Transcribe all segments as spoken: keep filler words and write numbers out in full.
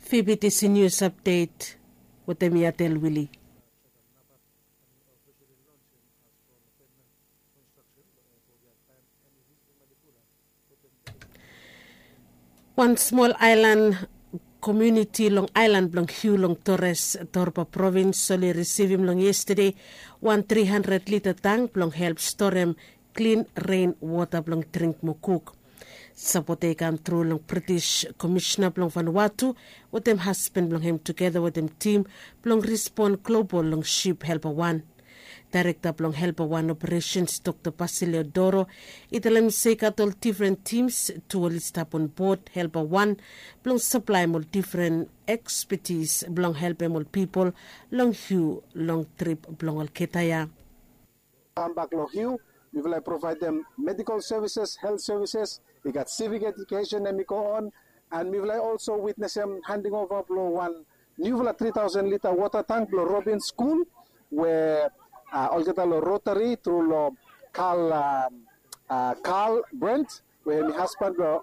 Fibitisi nius apdet wetem yatel wili. Wan smol aelan komiuniti long aelan blong hiu long tores, torba provins oli risivim long yestade wan tri handred lita tang blong help storem klin ren wota blong dring mo kuk. Sapot ya i kam tru long british komisina blong vanuatu wetem hasban blong hem tugeta wetem tim blong rispon global long sip helpa wan. Daerekta blong helpa wan operesens dokta basilio doro i talem se i gat ol difren tims tu oli stap on bot helpa wan blong saplaem ol difren ekspetis blong helpem ol pipol long hiu long trip blong olgeta ya. Kambak long hiu, mifala i provaedem medikol sevises, helt sevises, i gat sivik edukesen em i go on, and mifala i olso witnesem handing ova blong wan niufala tri taosen lita wota tang blong robin skul we olgeta long rotari tru long kal kal brent we hem i hasban blong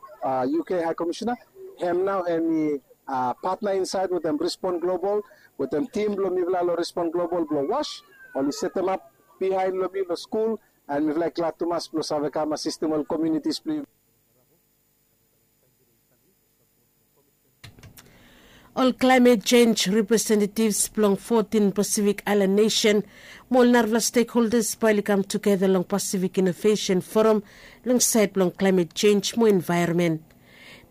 uk high komisina, hem nao hem i patna insaed wetem respon global wetem tim blong mifala long respon global blong was oli setemap bihaen long mi long skul. And mifala i glad tumas blong save kam asistem ol komiunitis blong yumi. Ol klaemet jenj representetivs blong fotin pasifik aelan nesen mo ol narafala stekholdas bae oli kam tugeta long pasifik inovesen foram long saed blong klaemet jenj mo envaeronmen.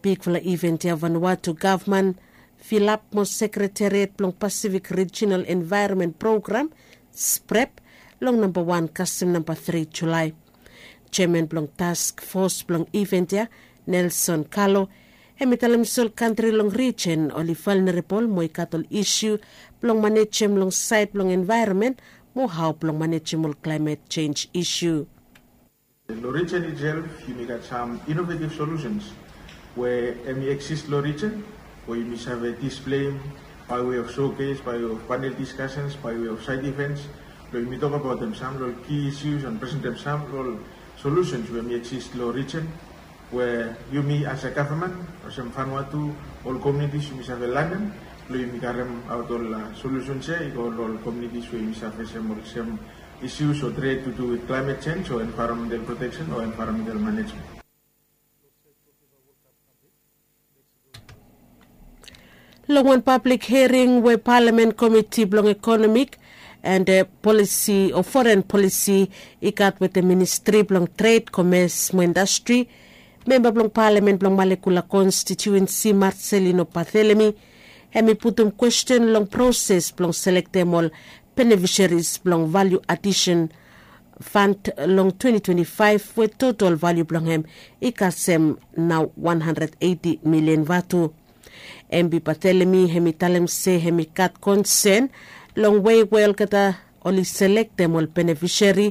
Bigfala iven ya vanua tu gavman filap mo sekretariat blong pasifik rijinal envaeronmen program sprep long namba wan kasem namba tri julae. Jeman blong task fos blong iven ya, nelson kalo, hem i talem se ol kantri long rijen oli valnerabol mo i gat ol isu blong manejem long saed blong envaeronmen mo hao blong manejem ol klaemet jenj isu. Long rijen itself yumi gat sam inovetiv solusens we hem i eksis long rijen we yumi save displeim bai we of sokes bai we of panel diskasens bai we of saed ivens blong yumi tokabaotem sam long ol ki isus and presentem sam long ol solusens we hem i eksis long rijen we yumi as a gavman olsem fanua tu ol komiunitis yumi save lanem blong yumi karemaot ol solusens ya i go long ol komiunitis we yumi save fesem olsem isus o tret tu du wit klaemet jenj o envaeronmental proteksen o envaeronmental manejmen. Long wan pablik hiaring we palamen komiti blong ekonomik and polisi o foren polisi i gat wetem ministri blong tred komes mo indastri, memba blong palamen blong malekula konstitiuensi marselino bathelemi hem i putum kwesten long proses blong selektem ol benefisheris blong valiu adisen fand long twenty twenty-five we totol valiu blong hem i kasem nao wan handred eiti milian vatu. Embi batelemi hem i talem se hem i gat konsen long wei we olgeta oli selektem ol benefiseri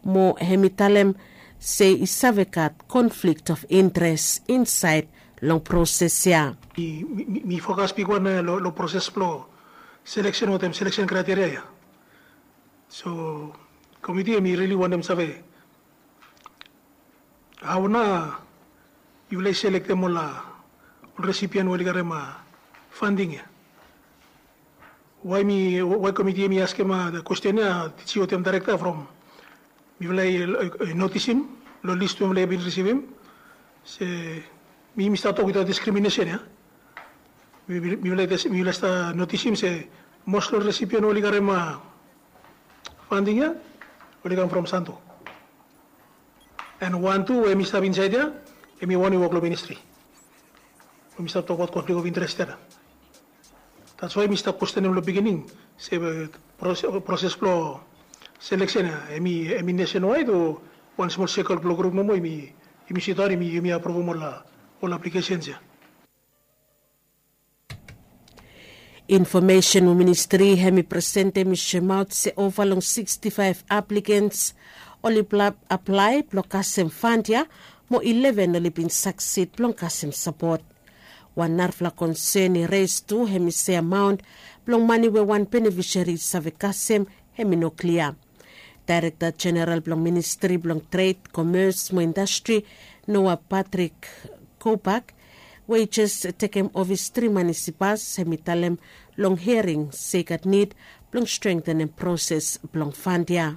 mo hem i talem se i save gat konflikt of interes insaed long proses ya. Mi fokas bigwan long proses blong seleksen wetem seleksen kraiteria ya. So komiti hem i rili wantem save hao na yufala i selektem ol resipian we oli karem fanding ya? Wae mi wae komiti hem i askem kwesten ya tiji wetem daerekta from mifala i notisim long lis we mifala i bin risivim se mi mi stap tok witaot diskriminesen ya. Mifala i stap notisim se mos long resipian we oli karem fanding ya oli kam from santo. An wan tu we mi stap insaed ya hem i wan we wok long ministri. Mi stap tokbaot konflik of interes ya na. Dats wae mi stap kwestenem long bigining se proses blong seleksen ya hem i nesenwaed o wan smol sekol blong grup nomo hem i sidaon hem i apruvum ol aplikesens ya. Infomesen we ministri hem i presentem i soemaot se ova long sikstifaef aplikens oli aplae blong kasem fand ya mo ileven oli bin saksid blong kasem sapot. Wan narafala konsen i res tu hem i se amaon blong mane we wan benefiseri i save kasem hem i no klia. Daerekta jeneral blong ministri blong tred komes mo indastri noa patrik kobak We i jes tekem ofis tri manis i pas, hem i talem long hiaring se i gat nid blong strengtenem proses blong fand ya.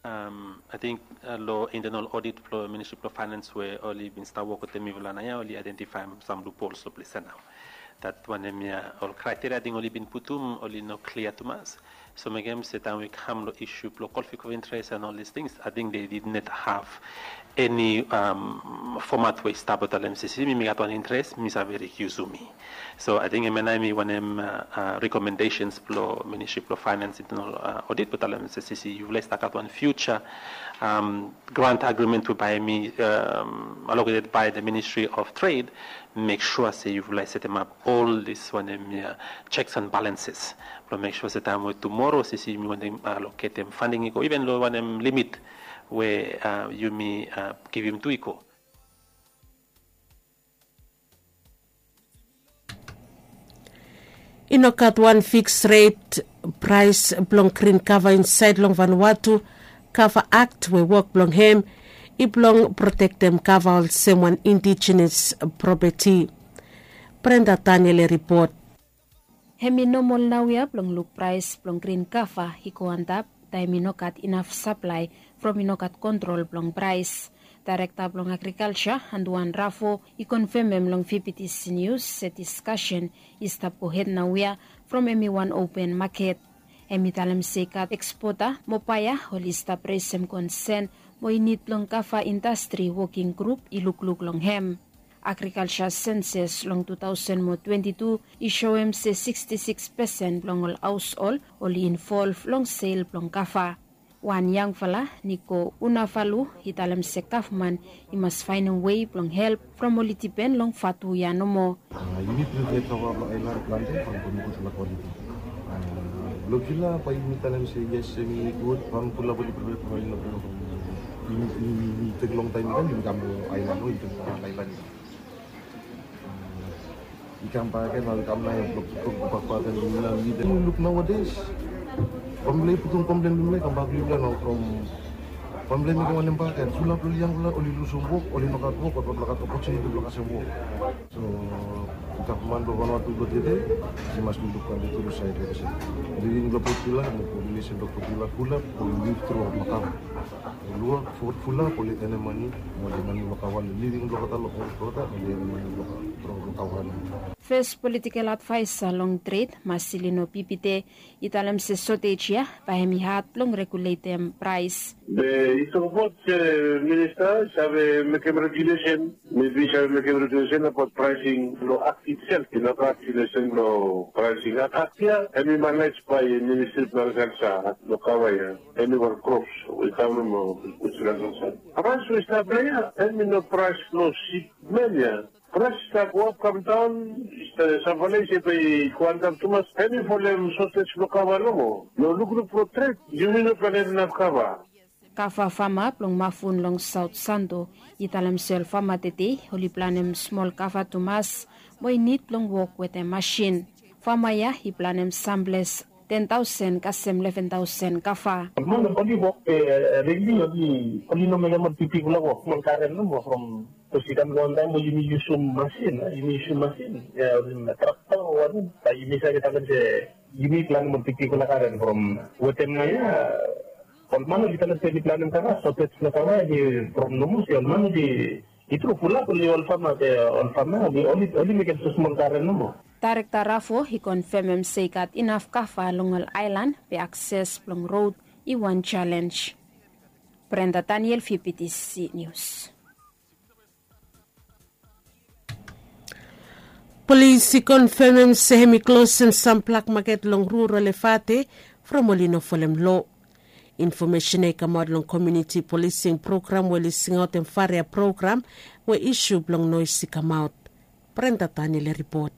Ating long internal odit blong ministri blong fainans we oli bin stap wok wetem mifala nao ya, oli aidentifaem sam lupols long ples ya nao. Dat wanem ya, ol kraiteria ating oli bin putum oli no klia tumas. So mekem se taem we i kam long isu blong kolfik of interes and ol dis tings, ating de did not have eni fomat we i stap blong talem se si mi mi gat wan interes, mi save rekiusum mi. So ating hemia nao hemi wanem rekomendesens blong ministri blong fainans, internal odit blong talem se si yufala i stap gat wan fiuja grant agrimen we bae hemi aloketed bae the ministri of tred, mek sua se yufala i setemap ol dis wanem ya, cheks and balenses blong mek sua se taem we tumoro se si yumi wantem aloketem fanding i go iven long wanem limit we yumi givim tu i go. I no gat wan fiks ret praes blong grin kava insaed long vanwatu kava akt we wok blong hem i blong protektem kava olsem wan indijenes propeti. Brenda Daniel i ripot. Hem i nomol naoia blong luk praes blong grin kava i go antap taem i no gat inaf saplae from i no gat kontrol blong praes. Daerekta blong agrikalja Anduan Rafo i konfemem long V P T C Nius se diskasen i stap gohed naoia from hem i wan open maket. Hem i talem se i gat ekspota mo baea oli stap resem konsen mo i nid blong kava indastri woking grup i lukluk long hem. Agrikalja senses long tu taosen mo twenti tu i soem se siksti siks pesen blong ol haoshol oli involv long sel blong kava. Wan yangfala Niko Unavalu i talem se gavman i mas faenem wei blong help from oli dipen long vatu ya nomo. Yumi prived kava blong aelan plante from gudfala kwaliti. Blong kila bae yumi talem se yes, hemi gud from fulap oli prived from aelan. Yumi tek longtaem i kam yumi kam long aelan o yumi tek long aelan. I kam bak gen, nao i kam nao i blok blok bak bak gen, yumi nao i luk naoades. Famle i putum komplen blong yumi nao i kam bak long yumi nao from famle i mekem wanem bak gen, fulap long ol yangfala oli lusum wok, oli no gat wok, oli no gat opotuniti blong kasem wok. So gavman blong Vanuatu blong tede i mas luk plante tu long saed ya olsem living blong Port Vila mo populesen blong Port Vila fulap oli liv tru long kava. Ol wok fulap oli enem mane mo oli enem mane blong kava long living blong olgeta, long haos blong olgeta, oli enem mane blong kava. Fes politikel advaesa long tred Marcelino Pipite i talem se sotej ya bae hemi had blong reguletem praes. Be i tokbaot se minista i save mekem regulesen, mebi i save mekem regulesen abaot praesing long akt itself. I no gat regulesen blong praesing akt ya. Hemi manaj bae ministri blong agrikalja long kava ya. Hemi wan krops we i kam long agrikalja. Praes we i stap long ya hemi no praes blong sipmen ya. Praes i stap go ap kam daon. Samfala i se bae i go antap tumas, hemi folem sotej blong kava nomo. Long lukluk blong tred yumi no planem inaf kava. Kava fama blong Mafun long Saot Santo i talem se ol fama tede oli planem smol kava tumas mo i nid blong wok wetem masin. Fama ya i planem samples ten taosen kasem leven taosen kava. Ol man oli wok regli, oli no mekem ol bigbigfala wok, smol garen nomo from Bikos i kam long wantaem we yumi yusum masin, yumi yusum masin, trakta o wanem, bae yumi save talem se yumi planem ol bigbigfala garen from wetem nao ya. Ol man oli talem se oli planem kava, sotej blong kava hemi from nomo se ol man oli, i tru fulap oli ol fama, ol fama oli, oli mekem smosmol garen nomo. Daerekta Rafo i konfemem se i gat inaf kava long ol aelan be akses blong rod i wan jalenj. Brenda Daniel, V P T C News. Polis i konfemem se hemi klosem sam blak maket long rural Efate from oli no folem lo. Infomesen ya i kamaot long komuniti polising program we oli singaotem faria program we isu blong noes i kamaot. Brenda Daniel i ripot.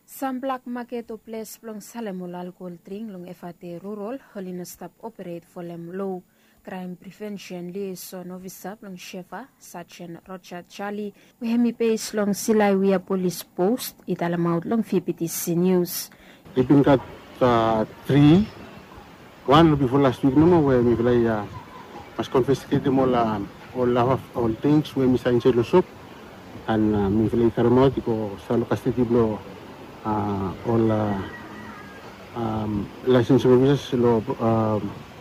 Sam blak maket o ples blong salem ol alkohol dring long Efate rurol oli no stap operet folem lo. Kraem prevensen liaeson ofisa blong Shefa, Sajen Roja Jali, we hemi bes long Silaiwia Polis Pos, i talemaot long V P T C Nius. I bin gat tri, wan bifo las wik nomo we mifala i mas konfisketem ol Ol lava ol drinks we mi save insaed long sop, an mifala i karemaot i go stap long kastedi blong ol laisens ofisas long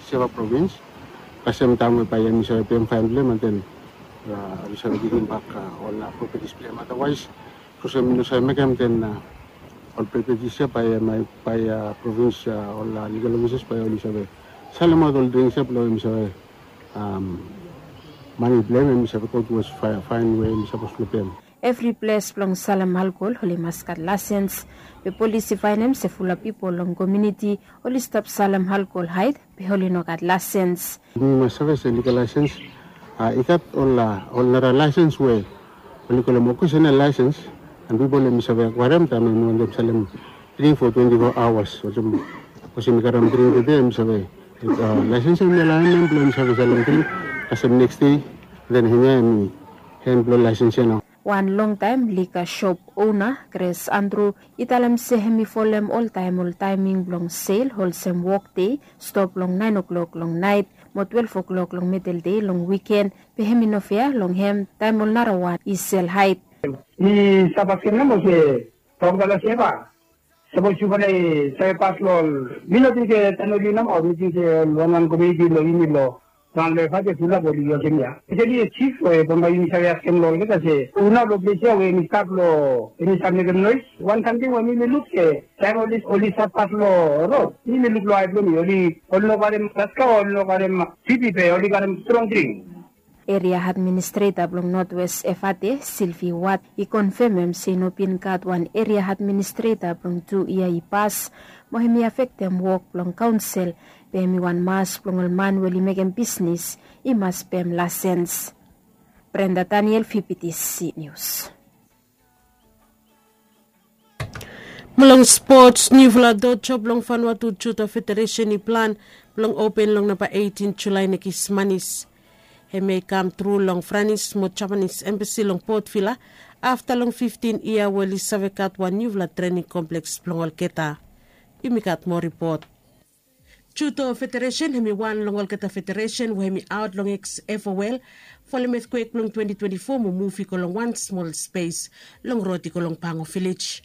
seva provins. Kasem taem we bae em i save pem faen blong em an den ol i save givim bak ol propetis blong em. Adawaes sapos em i no save mekem den ol propetis ya bae provins ol ligal ofisas bae ol i save salemaot ol drinks ya blong em i save mane blong em em i save go tuwas faen we em i sapos blong pem. Evri ples blong salem alkol oli mas gat laisens. Be polis i faenem se fulap pipol long komiuniti oli stap salem alkol haed be oli no gat laisens. Mi mas save se ligal laisens i gat ol nara laisens we oli kolem okesenal laisens. An pipol em i save akwaerem taem em i wantem salem dring fo twenti fo aoas olsem sapos em i karem dring tede em i save laisens em i alaem em blong em i save salem dring kasem neks dei. Den hemia em i hen blong laisens ya nao. Wan longtaem lika sop ona Gres Andru i talem se hem i folem oltaem ol taeming blong sel olsem wokdei stop long naen o'klok long naet mo twelef o'klok long medeldei long wiken. Be hem i no fea long hem taem ol narawan i sel haed. Mi stap askem nao se tokbala seva sapos yufala i save pas long ol mi no ting se taem oli nao mi ting se ol wanwan komiuniti blong yumi long wan long evade fulap oli olsem ya. Speseli sif we bambae yumi save askem long olgeta se hu nao long ples ya we yumi stap long yumi stap mekem noes. Wan samting we mi mi luk se taem oli oli stap pas long rod mi mi luk long ae blong mi oli oli no karem taska oli no karem sipi be oli karem strong dring. Eria administreta blong notwes evate silvi wat i konfemem se i no bin gat wan eria administreta blong tu yia i pas mo hem i afektem wok blong kaonsel. Be hem i wan mas blong ol man we oli mekem bisnis i mas pem lasens. Brenda daniel fibitisi nius. Mo long spots niufala dojo blong fanua tu judo federesen i plan blong open long namba eitin julae nekis manis. Hem ya i kam tru long franis mo japanis embasi long potvila afta long fiftin yia we oli save gat wan niufala trening kompleks blong olgeta. Yumi gat moa ripot. Judo federesen hem i wan long olgeta federesen we hem i aot long eksefowel folem etkwek blong twenti twenti fo mo muv i go long wan smol spes long rod i go long pango vilej.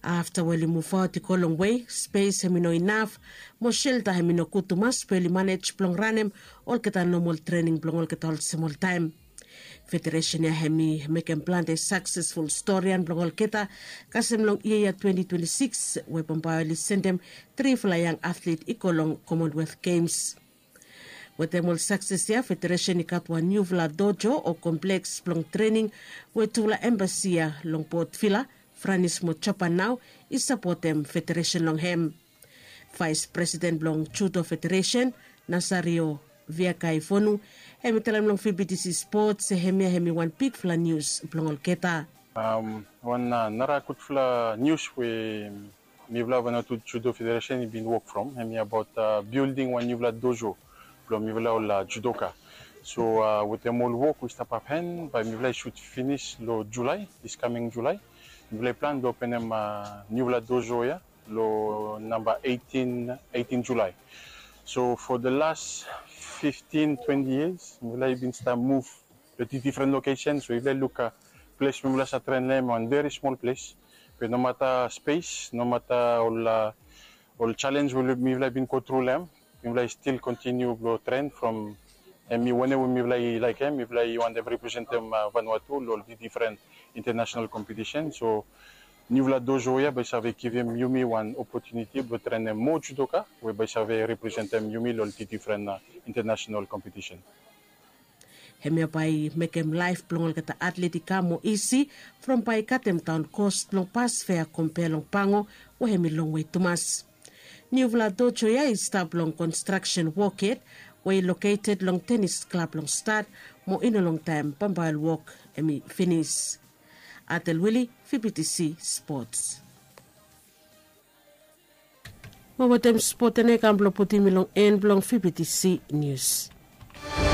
Afta we oli muvaot i go longwe spes hem i no inaf mo selta hem i no gud tumas be oli manej blong ranem olgeta nomol trening blong olgeta olsem oltaem. Federesen ya hem i mekem plante saksesful storian blong olgeta kasem long yia ya twenti twenti sikis we bambae oli sendem trifala yang atlet i go long komonwelth gems. Wetem ol sakses ya federesen i gat wan niufala dojo o kompleks blong trening we tufala embasi ya long potvila franis mo japan nao i sapotem federesen long hem. Vaes presiden blong judo federesen nasario viakai fonu hem i talem long fibitisi spots se hemia hem i wan bigfala nius blong olgeta. Wan nara gudfala nius we mifala vanatu judo federesen i bin wok from hemi abaot bilding wan niufala dojo blong mifala ol judoka. So wetem ol wok we i stap apen bae mifala i sut finis long julai, diskaming julai mifala i plan blong openem niufala dojo ya long namba eitin eitin julai. So fo de las fiftin twenti yias mifala i bin stap muv long tu difren lokesen. So yufala i luk ples we mifala save tren long hem wan veri smol ples. Be nomata spes nomata ol ol jalens we mifala i bin go tru long hem mifala i stil kontiniu blong tren from hem i wanem we mifala i laekem mifala i wantem representem vanua tu long ol difren intanasenal kompetisen. So niufala dojo ya bae i save givim yumi wan opotuniti blong trenem moa judoka we bae i save representem yumi long ol difren intanasenal kompetisen. Hemia bae i mekem laef blong olgeta atlet i kam moa isi from bae i katem daon kos blong pas fea kompea long pango we hem i longwe tumas. Niufala dojo ya i stap long konstraksen wok yet we i loketed long tenis klab long stat mo i no longtaem bambae ol wok hem i finis. Atel wili, fibitisi spots. Mo wetem spot ya nao i kam blong putim mi long en blong fibitisi nius.